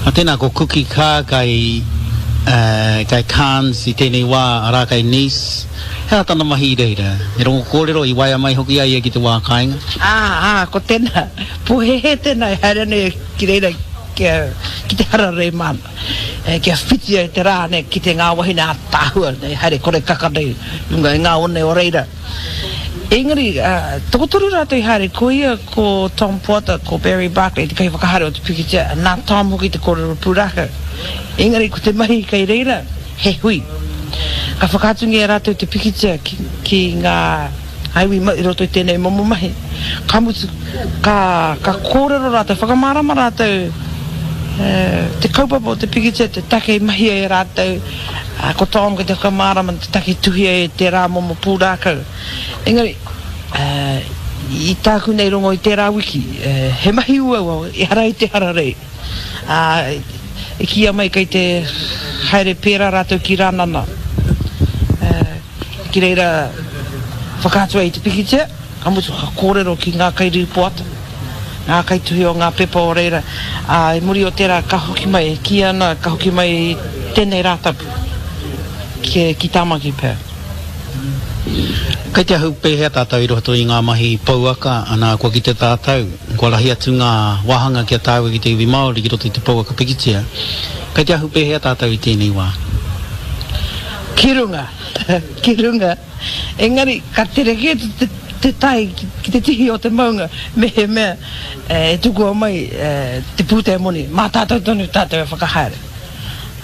A tēnā ko Kuki Kaa kai, kai Cairns i tēnei wā, arā kai Nice. He aha tana mahi i reira? He rongo kōrero i waea mai hoki a ia ki te wā kāinga? Ā, ā, ko tēnā, pōhēhē tēnā e haere ana ia ki reira kia, ki te hararei māna, kia whiti ai te rā nei ki te ngā wahine ātaahua nei, haere kore kaka nei i runga i ngā one o reira. Engari, tokotoru rātou i haere, ko ia, ko Tom Poata, ko Barry Barclay, te kaiwhakahaere o te pikitia, nā Tom hoki te kōrero pūrākau. Engari, ko te mahi kei reira, he hui. Ka whakaatungia e rātou te pikitia ki, ki ngā iwi mau i roto i tēnei momo mahi. Ka mutu, ka, ka kōrero rātou, whakamārama rātou te kaupapa o te pikitia, te take i mahia e rātou, Ā, ko Tom kei te whakamārama te take i tuhia e tērā momo pūrākau. Engari, ā, i tāku nei rongo i tērā wiki, he mahi uaua, ehara i te hararei. Ā, i kīia mai kei te haere pērā rātou ki Rānana, ā, ki reira whakaatu ai i te pikitia. Ka mutu ka kōrero ki ngā kairīpoata, ngā kaituhi o ngā pepa o reira, ā, i muri o tērā ka hoki mai, e kī ana ka hoki mai i tēnei Rātapu ki, ki Tāmaki pea. Kei te ahu pēhea tātou i roto i ngā mahi pouaka, ana kua kite tātou, kua rahi atu ngā wāhanga ki a tāua ki te iwi Māori ki roto i te pouaka pikitia. Kei te ahu pēhea tātou i tēnei wā? Ki runga, ki runga. Engari, ka tere kē te tae ki te tihi o te maunga mehemea e tukua mai te pūtea moni, mā tātou tonu tātou e whakahaere.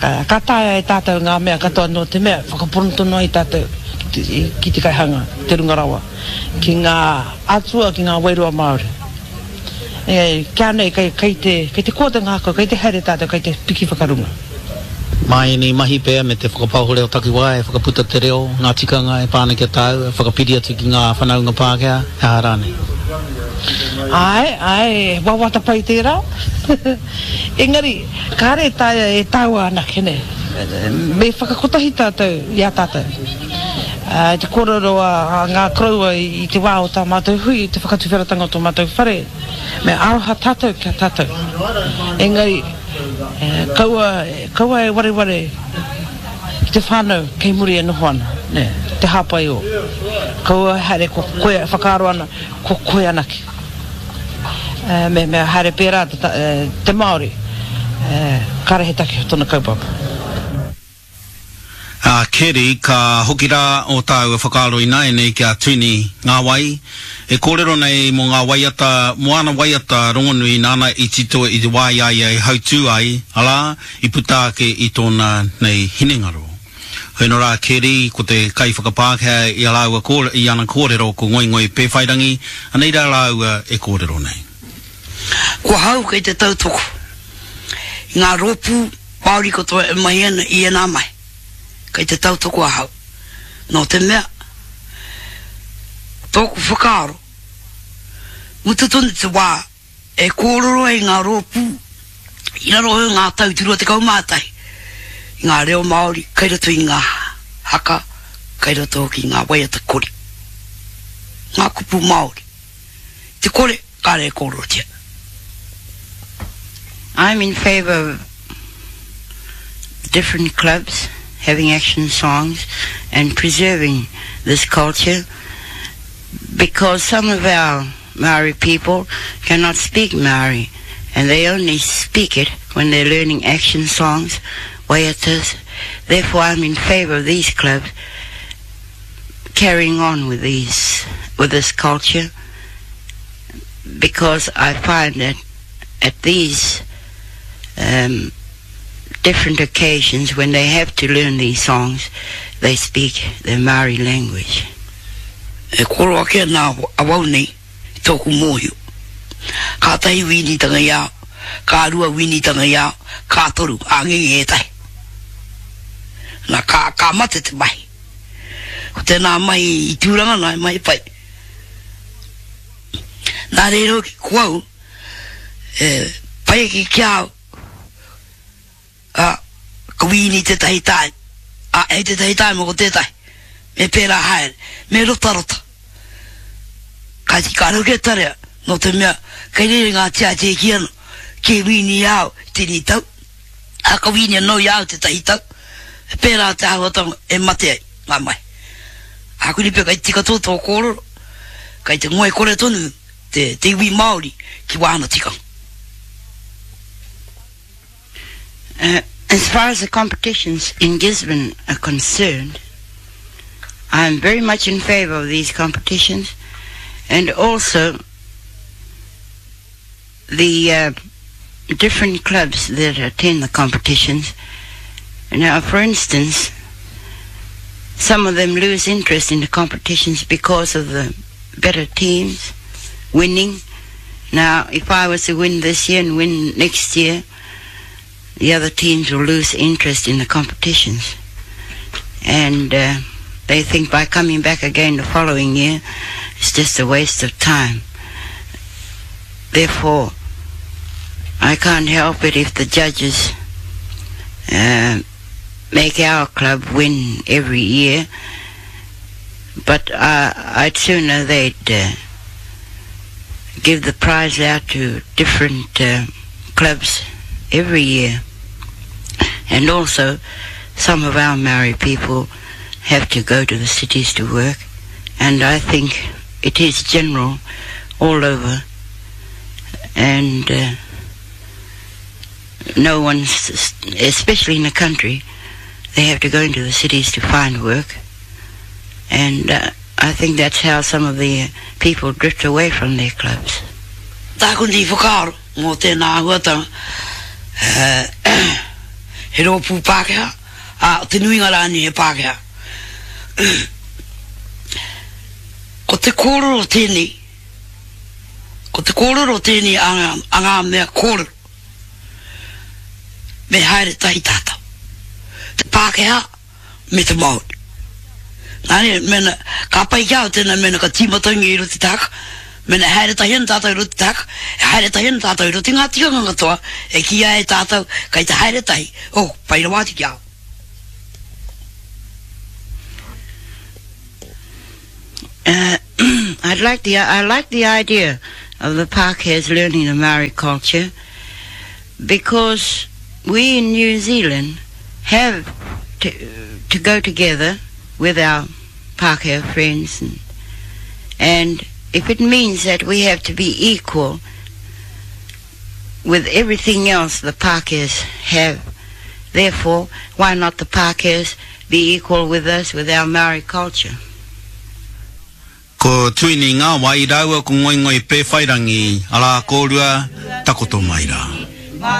Ka taea e tātou ngā mea katoa nō te mea whakapono tonu ai tātou ki te kaihanga, te runga rawa, ki ngā atua, ki ngā wairua Māori. Engari, kia nei, kei, kei te, kei te koa te ngākau, kei te haere tātou, kei te piki whakarunga. Mā ēnei mahi pea me te whakapaoho reo takiwā e whakaputa te reo, ngā tikanga e pā ana ki a tāua, e whakapiri atu ki ngā whanaunga Pākehā, he aha rānei. Āe, āe, he wawata pai tērā. Engari, kāre e taea e tāua anake, nē. Me whakakotahi tātou i a tātou. I te kōrero a ngā koroua i te wā o tā mātou hui, i te whakatuwheratanga o tō mātou whare, me aroha tātou ki a tātou. Engari, kaua, kaua e wareware ki te whānau kei muri e noho ana, nē, te hāpai ō. Kaua e haere ko koe e whakaaro ana, ko koe anake. Mehemea haere pērā te Māori, kāre he take o tōna kaupapa. A Keri, ka hoki rā ō tāua whakaaro ināianei ki a Tuini Ngāwai, e kōrero nei mō ngā waiata, mō āna waiata rongonui nāna i tito i te wā i a ia e hautū ai, arā, i puta ake i tōna nei hinengaro. Hoino rā Keri, ko te kaiwhakapākehā i a rāua kō, i ana kōrero ko Ngoingoi Pēwhairangi, anei rā rāua e kōrero nei. Ko ahau kei te tautoko i ngā rōpū Māori katoa e mahi ana i ēnā mahi, kei te tautoko ahau. Nō te mea, tōku whakaaro, mutu tonu te wā e kōrero ai ngā rōpū i raro i ngā tau 21 i ngā reo Māori kei roto i ngā haka, kei roto hoki i ngā waiata kori, ngā kupu Māori. Te kore, kāre e kōrerotia. I'm in favour of different clubs having action songs and preserving this culture because some of our Maori people cannot speak Maori and they only speak it when they're learning action songs, waiatas. Therefore, I'm in favour of these clubs carrying on with these with this culture because I find that at these um, different occasions when they have to learn these songs, they speak their Maori language. E koro ake ana awau nei i tōku mōhio. Kātahi wīnitanga i a, ka rua wīnitanga i a, ka toru, āngenge ētahi. Na, ka, ka mate te mahi. Ko tēnā mahi i Tūranga nā, he mahi pai. Nā reira hoki ko au, e pai ake ki a au, ā, ka wīni tētahi tāima, ā, hei tētahi tāima ko tētahi, me pērā haere, me rotarota. Kāti kāre hoki e tarea, nō te mea, kei reira ngā tiatia e kī ana, kē wīni i a au i tēnei tau. Ā, ka wīni anō i a au tētahi tau, he pērā te āhuatanga e mate ai ngā mahi. Ākuni pea kei te tika tō tō kōrero, kei te ngoikore tonu te, te iwi Māori ki wāna tikanga. As far as the competitions in Gisborne are concerned, I am very much in favour of these competitions and also the uh, different clubs that attend the competitions. Now, for instance, some of them lose interest in the competitions because of the better teams winning. Now, if I was to win this year and win next year, the other teams will lose interest in the competitions. And uh, they think by coming back again the following year, it's just a waste of time. Therefore, I can't help it if the judges uh, make our club win every year. But uh, I'd sooner they'd uh, give the prize out to different uh, clubs every year. And also, some of our Maori people have to go to the cities to work. And I think it is general all over. And uh, no one's, especially in the country, they have to go into the cities to find work. And uh, I think that's how some of the people drift away from their clubs. Tāku nei whakaaro mō tēnā āhuatanga, he rōpū Pākehā, ā, te nuinga rānei he Pākehā. Ko te kōrero tēnei, ko te kōrero tēnei a ngā, a ngā mea kōrero, me haere tahi tātou. Te Pākehā, me te Māori. Nā reira, mēnā, ka pai ki a au tēnā mēnā ka tīmatangia i roto i te haka, mēnā e haere tahi ana tātou i roto i te haka, e haere tahi ana tātou i roto i ngā tikanga katoa, e kīia ai e tātou kei te haere tahi, oh, pai rawa atu ki a au. Uh, I'd like the, I like the idea of the Pākehās learning the Maori culture because we in New Zealand have to, to go together with our Pākehā friends and, and if it means that we have to be equal with everything else the Pākehās have, therefore, why not the Pākehās be equal with us with our Maori culture? Ko Tuini Ngawai rāua ko Ngoingoi Pēwhairangi, arā kōrua, takoto mai rā.